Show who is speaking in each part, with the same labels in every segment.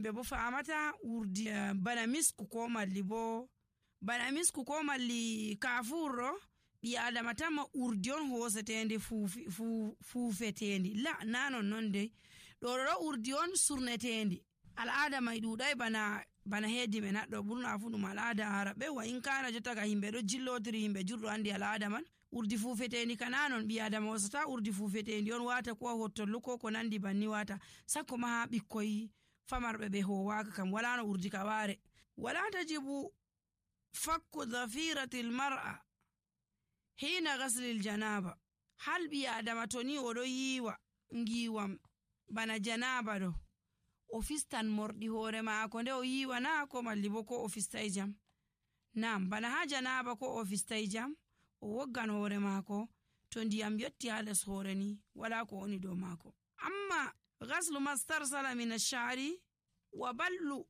Speaker 1: ɓe bo famata urdi bana misku ko malli bo bana misku ko malli kafurɗo ɓi adama tanma urdi on hosetendi fuufetendi la na non dey ɗo urdi on surnetendi al'ada mai ɗuɗai bana hedi men haɗɗo ɓurna fu ɗum al'ada araɓe wa in kana jottaga himɓe ɗo jillotiri himɓe jurɗo andi al'ada man urdi fuufetendi kana non ɓi adama hosata urdi fuufetendi on wata ko hottollo ko nandi banni wata sakko ma ha ɓikkoy famarɓe ɓe howaka kam wala no urdi ka ware. wala tajibu fakku dhafiratil mar'a hina ghaslil janaba hal ɓi adama to ni oɗo yiwa ngiwam bana janaba ɗo o fistan morɗi hoore maako nde o yiwana ko malli bo ko o fistai jam nam bana ha janaba ko o fistai jam o woggan hoore maako to ndiyam yotti ha les hoore ni wala ko woni dow maako. amma ghaslu mastarsala min ash-sha'ri wa ballu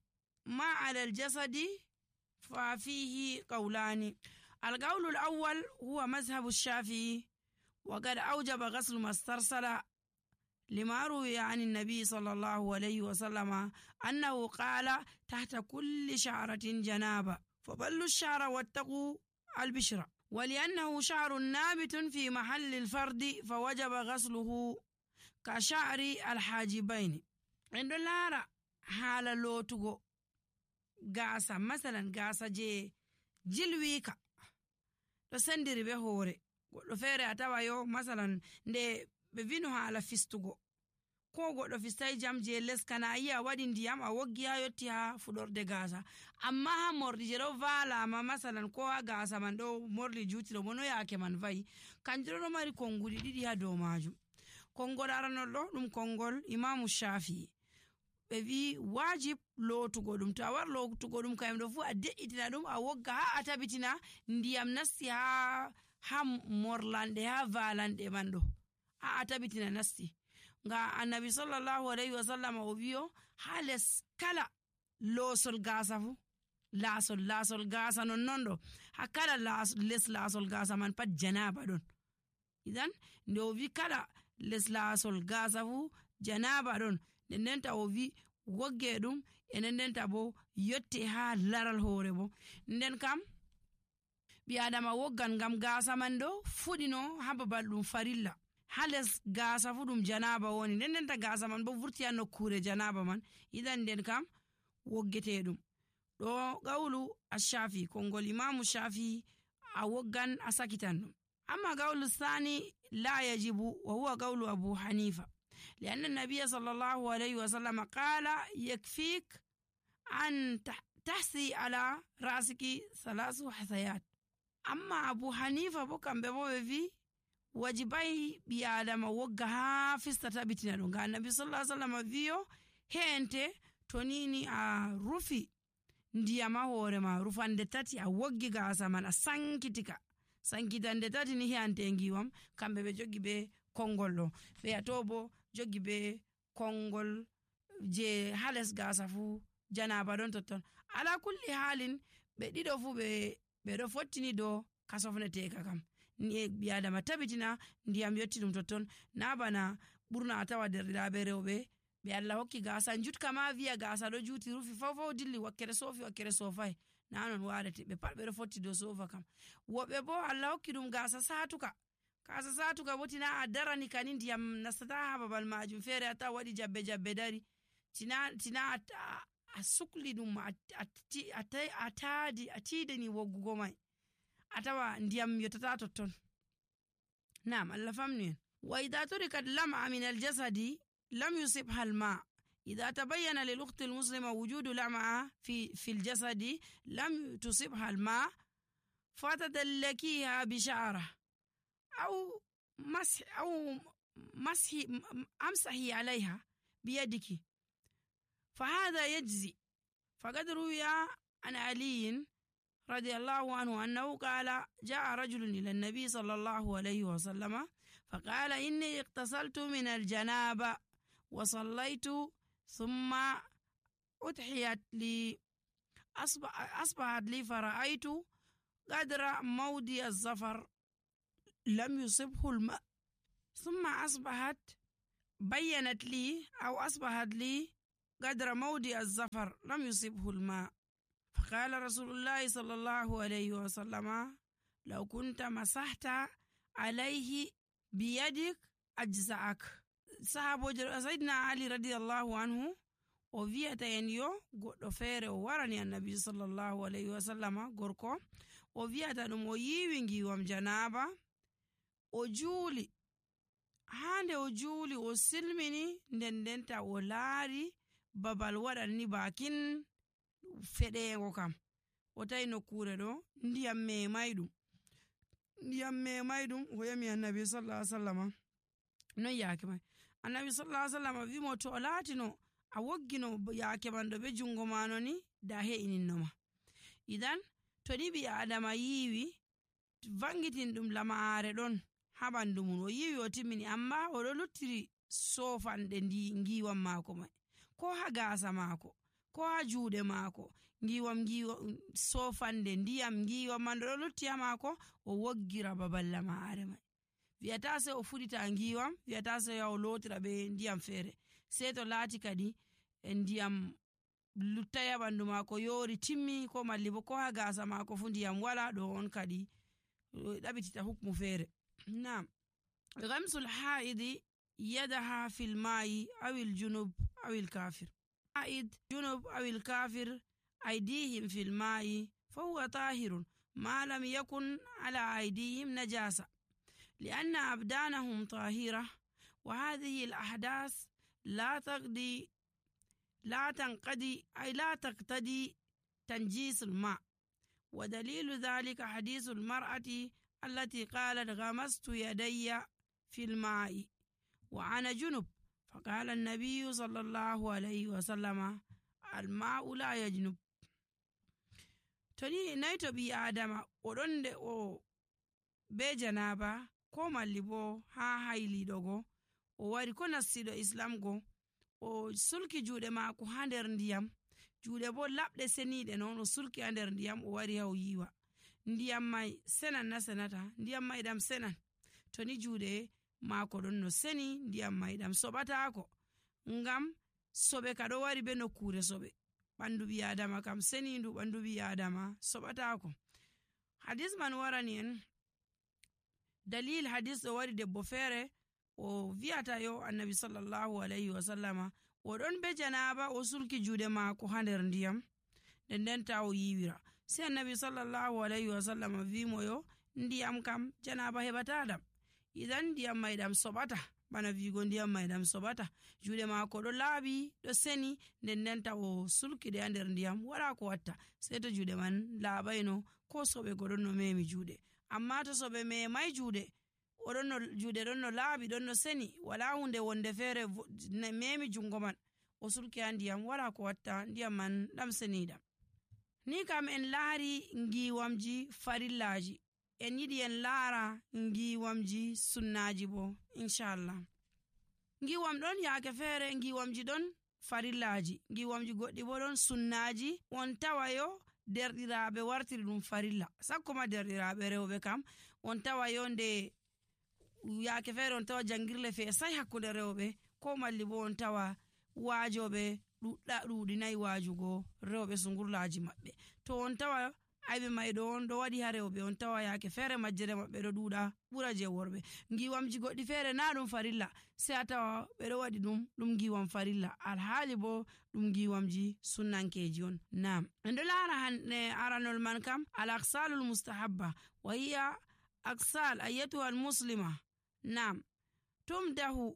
Speaker 1: ma ala al-jasadi fa fihi qawlani. القول الأول هو مذهب الشافعي وقد أوجب غسل ما استرسل لما روي عن النبي صلى الله عليه وسلم أنه قال تحت كل شعرة جنابة فبلوا الشعر واتقوا البشرة ولأنه شعر نابت في محل الفرد فوجب غسله كشعر الحاجبين. عند الله حال لوتغو غاسا مثلا غاسا جي جلويكا ɗo sendiri be hoore goɗɗo feere a tawa yo masalan nde ɓe vino haala fistugo ko goɗɗo fistai jam je les kana yi a waɗi ndiyam a woggi ha yotti ha fuɗorde gaasa amma ha morɗi je ɗo valama masalan ko ha gaasa man ɗo morɗi juutiɗo bo no yaake man vayi kanjum ɗo mari konnguli ɗiɗi ha dow majum. konngol aranol ɗo ɗum konngol imamu shafii ɓe wi wajib lootugo ɗum to a war lootugo ɗum kayum ɗo fu a de'itina ɗum a wogga ha a tabitina ndiyam nasti ha morlanɗe ha valanɗe man ɗo ha a tabitina nasti nga annabi sallallahu alaihi wasallam o wiyo ha les kala loosol gaasa fu laasol gaasa non ɗo ha kala les laasol gaasa man pat janaba ɗon idan nde o wi kala les laasol gaasa fu janaba ɗon ndenta o wi wogge ɗum ndenta bo yotte ha laral hoore bo nden kam ɓi adama woggan ngam gaasa man ɗo fuɗino ha babal ɗum farilla ha les gaasa fu ɗum janaba woni ndenta gaasa man bo vurti ha nokkure janaba man idan nden kam woggete ɗum ɗo gawlu ash-shafi konngol imamu shafi a woggan a sakitan ɗum. amma gawlu sani la yajibu wa huwa gawlu abu hanifa لأن النبي صلى الله عليه وسلم قال يكفيك أن تحسي على رأسك 3 حثيات. أما أبو حنيفة بكم بموفي wajibai ɓi adama wogga ha fistata bitina ɗum ga annabi sallallahu alaihi wasallam wiyo hente to nini a rufi ndiyam ha hoore ma rufande 3 a woggi gaasa man a sankitande 3 ni hente ngiwam kamɓe ɓe jogi be konngol ɗo ɓe ato bo jogi be konngol je hales gaasa fu janaba ɗon totton ala kulli halin ɓe ɗiɗo fu ɓe ɗo fottini do kasofneteka kam ni ɓi adama tabitina ndiyam yotti ɗum totton na bana ɓurna a tawa derɗiraɓe rewɓe ɓe Allah hokki gaasa jutka ma wiya gaasa ɗo juuti rufi faw dilli wakkere sofi wakkere sofai na non warete ɓe pat ɓe ɗo fotti do sofa kam. woɓɓe bo Allah hokki ɗum gaasa satuka bo tina a darani kani ndiyam nastata ha babal majum feere a tawa waɗi jabbe dari tina a sukli ɗum a tidani woggugo mai a tawa ndiyam yottata totton. nam Allah famnu en. wa idha turikat lam'a min al-jasadi lam yusibha al-ma' idha tabayyana lil ukhti al-muslima wujudu lam'a fi al-jasadi lam tusibha al-ma' fatadallakiha bi sha'ra أو أمسحي عليها بيدك فهذا يجزي. فقد روي عن علي رضي الله عنه أنه قال جاء رجل إلى النبي صلى الله عليه وسلم فقال إني اغتسلت من الجنابة وصليت ثم أضحيت لي أصبحت لي فرأيت قدر مودي الظفر لم يصبه الماء ثم أصبحت لي قدر موضع الزفر لم يصبه الماء، فقال رسول الله صلى الله عليه وسلم لو كنت مسحت عليه بيدك أجزأك. صحابو سيدنا علي رضي الله عنه o wi'ata en yo goɗɗo feere o warani annabi sallallahu alayhi wa sallama gorko o wi'ata ɗum o yiwi ngiwam janaba o juuli, hande o juuli o silmini ndendenta o laari babal waɗanni bakin feɗego kam o tawi nokkure ɗo ndiyam memay ɗum o yami annabi sallallahu alayhi wa sallama non yaake may. Annabi sallallahu alayhi wa sallama wimo to o laatino a woggino yaake man ɗo be jungo mano ni da he'ininoma. Idan to ni ɓi adama yiwi vangitin ɗum lamare ɗon ha ɓandu mum, o yiwi o timmini amma oɗo luttiri sofanɗe ngiwam maako mai ko ha gasa maako ko ha juuɗe maako ngiwam sofande ndiyam ngiwam man ɗo lutti ha maako o woggira babal lamare mai. Wiyata sai o fuɗita ngiwam, wiyata sai o lotira be ndiyam feere, sai to laati kadi ndiyam luttaya ɓandu maako yori timmi ko malli bo ko ha gasa maako fu ndiyam wala ɗo on kadi ɗaɓitita hukmu feere. Naam, ghamsul haidi yadaha fil ma'i awil junub awil kafir. Haid junub awil kafir aydihim fil ma'i fahuwa tahirun ma lam yakun ala aydihim najasa لأن أبدانهم طاهرة وهذه الأحداث لا تقتضي تنجيس الماء. ودليل ذلك حديث المرأة التي قالت غمست يدي في الماء وأنا جنب فقال النبي صلى الله عليه وسلم الماء لا يجنب. تني نيتو بي آدم ودنde o be janaba ko malli bo ha hayliɗogo o wari ko nassiɗo islam go o sulki juuɗe maako ha nder ndiyam, juuɗe bo laɓɗe seniɗe noon o sulki ha nder ndiyam o wari ha o yiwa ndiyam mai senan na senata, ndiyam mai ɗam senan to ni juuɗe maako ɗon no seni ndiyam mai ɗam soɓatako ngam soɓe ka ɗo wari be nokkure soɓe, ɓandu ɓi adama kam senindu ɓandu ɓi adama soɓatako. Hadis man warani en dalil hadis ɗo wari debbo feere o wi'ata yo annabi sallallahu alayhi wa sallama o ɗon be janaba o sulki juuɗe maako ha nder ndiyam ndendenta o yiwira, sai annabi sallallahu alayhi wa sallama wimo yo ndiyam kam janaba heɓataɗam, idan ndiyam mai ɗam soɓata bana wigo ndiyam mai ɗam soɓata, juuɗe maako ɗo laaɓi ɗo seni ndendenta o sulkiɗe ha nder ndiyam wala ko watta sai to juuɗe man laaɓayno ko soɓe go ɗon no memi juuɗe. Amma to soɓe memai juuɗe juuɗe ɗon no laaɓi ɗon no seni wala hunde wonde feere memi jungo man o sulki ha ndiyam wala ko watta ndiyam man ɗam seniɗam. Ni kam en laari ngiwamji farillaji, en yiɗi en laara ngiwamji sunnaji bo inchallah. Ngiwam ɗon yaake feere ngiwamji ɗon farillaji, ngiwamji goɗɗi bo ɗon sunnaji on tawayo derɗiraɓe wartiri ɗum farilla, sakkoma derɗiraɓe rewɓe kam on tawayo nde yaake feere on tawa jangirle feesai hakkude rewɓe ko malli bo on tawa waajoɓe ɗuɗinayi waajugo rewɓe sungurlaji maɓɓe, to on tawa ayɓe may ɗo on ɗo waɗi ha rewɓe on tawa yaake feere majjere maɓɓe ɗo ɗuɗa ɓura je worɓe. Ngiwamji goɗɗi feere na ɗum farilla sai a tawa ɓe ɗo waɗi ɗum ngiwam farilla alhaali bo ɗum ngiwamji sunnankeji on. Nam, en ɗo laara hande aranol man kam al aksalul mustahabba wa hiya aksal ayyatuha al muslima. Nam, tumdahu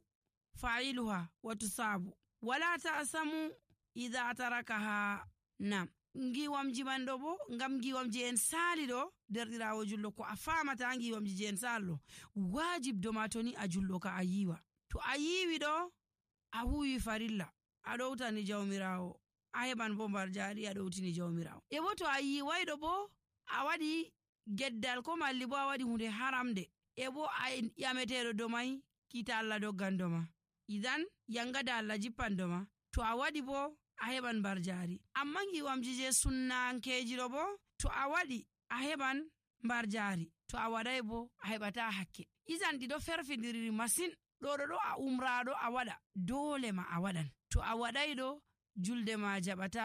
Speaker 1: fa'iluha wa tusabu wala ta'samu idha tarakaha. Nam, ngiwamji man ɗo bo ngam ngiwamji en sali ɗo derɗirawo jullo ko a famata ngiwamji je en sali ɗo wajib doma to ni a jullo ka a yiwa, to a yiwi ɗo a huwi farilla a ɗowtani jawmirawo a heɓan bo mbar jari a ɗowtini jawmirawo. E bo to a yiwayɗo bo a waɗi geddal ko malli bo a waɗi hunde haramde e bo a yameteɗo domai kita Allah doggan doma, idan yangada Allah jippan doma, to a waɗi bo a heɓan mbar jari. Amma ngiwamji je sunnankeji ɗo bo to a waɗi a heɓan mbar jari, to a waɗai bo a heɓata hakke. Idan ɗiɗo ferfidiri masin, ɗo a umraɗo a waɗa dole ma a waɗan, to a waɗai ɗo julde ma jaɓata